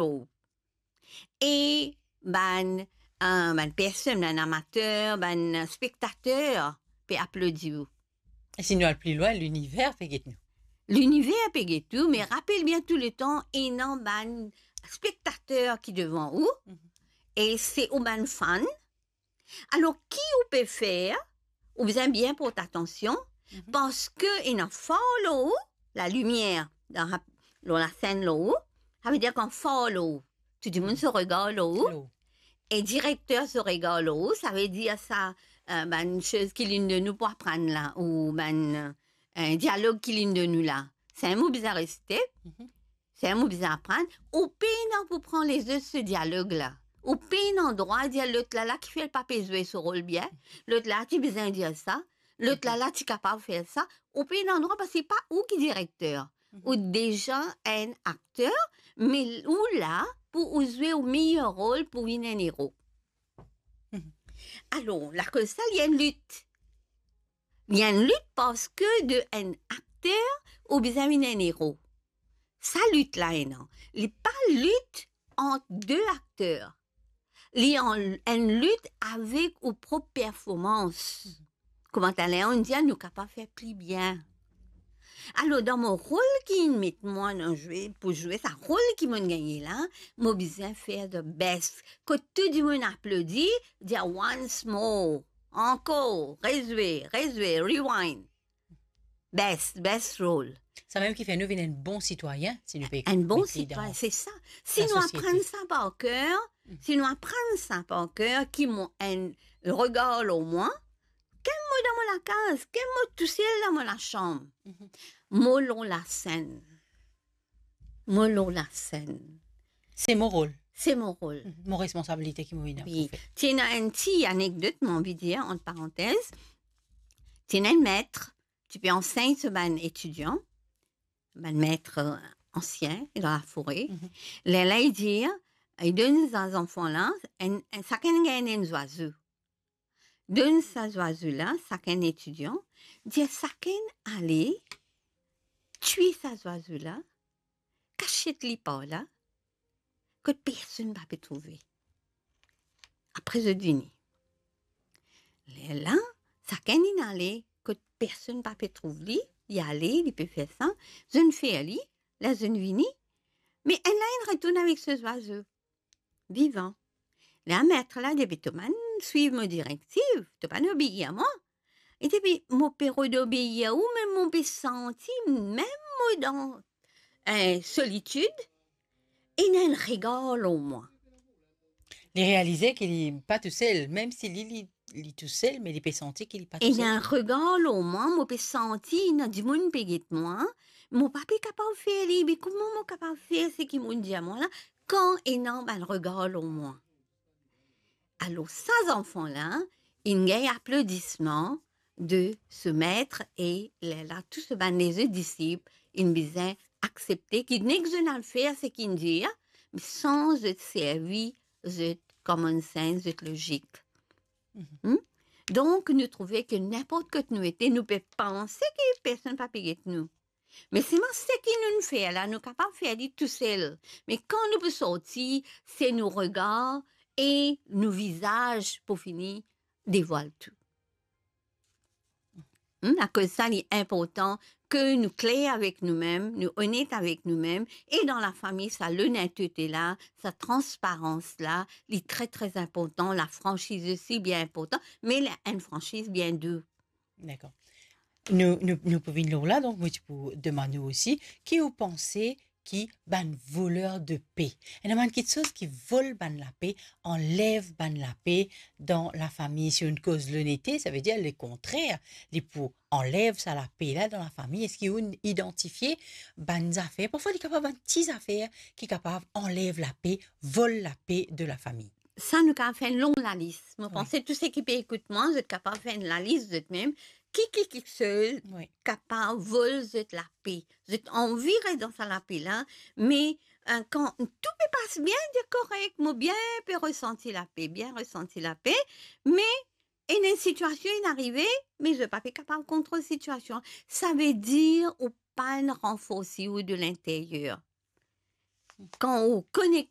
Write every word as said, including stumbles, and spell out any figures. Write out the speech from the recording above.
show. E bann, eh, bann personn, bann amater, bann spektater pe aplodi ou. E si nou al pli lwin, liniver pe get nou. Liniver pe get ou, me rapel bien touletan, ena bann spektater ki devan ou, mhm, e se ou bann fan. Alor, ki ou pe fer, ou bizin bien port atansion, mhm, parski ena far lor ou, lalimier dan, lor lasenn lor ou, savedir kan far lor ou, tou dimoun so regar lor ou, lor ou, e direkter so regar lor ou, savedir sa, eh, bann soz ki linn donn ou pou aprann la, ou bann, eh, dialog ki linn donn ou la. Samem ou bizin resite, mhm, samem ou bizin aprann, ou pena pou pran lezot so dialog la. Ou pena drwa dir lot la la kifer li pa pe zwe so rol bien, lot la ti bizin dir sa, lot la la ti kapav fer sa. Ou pena drwa parski pa ou ki direkter. Mhm. Ou deza enn akter, me ou la pou ou zwe ou meyer rol pou vinn enn ero. Mhm. Alor, lakoz sa, li enn lit. Li enn lit parski de enn akter, ou bizin vinn enn ero. Sa lit la ena, li pa lit ant de akter. Li an-, enn lit avek ou prop performans. Kouma taler inn dir, nou kapav fer pli bien. Alor, dan mo rol ki inn met mwa dan zwe, pou zwe sa rol ki mo'nn gagne la, mo bizin fer the best. Kot tou dimoun aplodi, dir once more. Ankor, rezwe, rezwe, rewind. Best, best role. Samem ki fer nou vinn enn bon sitwayin, si nou pe... Enn bon sitwayin, se sa. Si nou aprann sa par ker, mhm, si nou aprann sa par ker, ki mo enn regar lor mwa, ken mo dan mo lakaz, ken mo tousel dan mo lasam. Mhm. Mo lor lasenn. Mo lor lasenn. Se mo rol. Se mo rol. Mhm. Mo responsabilite ki mo ena pou fer. Wi. Ti ena enn ti anekdot, mo anvi dir, ant parantez. Ti ena enn met, ti pe ansegn so bann etidian, bann met, eh, ansien, dan lafore. Mhm. Lerla li dir, li donn sa zanfan la, enn, enn, sakenn gagn enn zwazo. Donn sa zwazo la, sakenn etidian, dir sakenn ale twi sa zwazo la, kasiet li par la, kot personn pa pe trouve. Apre zot vini. Lerla, sakenn inn ale kot personn pa pe trouv li, li ale, li pe fer sa, zot inn fer li, ler zot inn vini, me enn la inn retourn avek so zwazo. Vivan. Lerla met la dir, "Be to bann swiv mo direktiv, to bann obeir mwa." Li dir, "Be mo pe rod obeir ou, me mo pe santi mem mo dan, eh, solitid, ena enn regar lor mwa." Li realize ki li pa tousel, mem si li, li, li tousel, me li pe santi ki li pa tousel. Ena enn regar lor mwa, mo pe santi ena dimoun pe get mwa, mo pa pe kapav fer li, be kouma mo kapav fer seki mo'nn dir mwa la, kan ena bann regar lor mwa. Alor, sa zanfan la, inn gagn aplodisman de so met e lerla tou so bann lezot disip inn bizin aksepte ki nek zot inn al fer seki inn dir, me san zot servi zot common sense, zot lozik. Mhm. Hmm? Donk, nou trouve ki ninport kot nou ete, nou pe panse ki personn pa pe get nou. Me selman seki nou'nn fer la, nou kapav fer li tousel. Me kan nou pou sorti, se nou regar e nou vizaz pou fini devwal tou. Hmm, akoz sa, li inportan ke nou kler avek noumem, nou onet avek noumem, e dan lafami, sa lonetete la, sa transparans la, li tre, tre inportan, lafransiz osi bien inportan, me li enn fransiz bien dou. Dakor. Nou, nou, nou pou vinn lor la, donk mo ti pou demann ou osi, ki ou panse ki bann voler de pe? Ena bann kiksoz ki vol bann lape, anlev bann lape dan lafami. Si ou'nn koz lonete, savedir lekontrer, li pou anlev sa lape la dan lafami. Eski ou'nn idantifie bann zafer? Parfwa, li kapav bann ti zafer ki kapav anlev lape, vol lape de lafami. Sa nou kapav fer enn long lalis. Mo panse tou seki pe ekout mwa, zot kapav fer enn lalis zot mem. Ki, ki, kiksoz kapav vol zot lape? Zot anvi res dan sa lape la, me, eh, kan tou pe pas bien, dir korek, mo bien pe resanti lape, bien resanti lape, me ena enn sitiasion inn arive, me zot pa pe kapav kontrol sitiasion. Savedir ou pa'nn ranforsi ou de linteryer. Kan ou konekte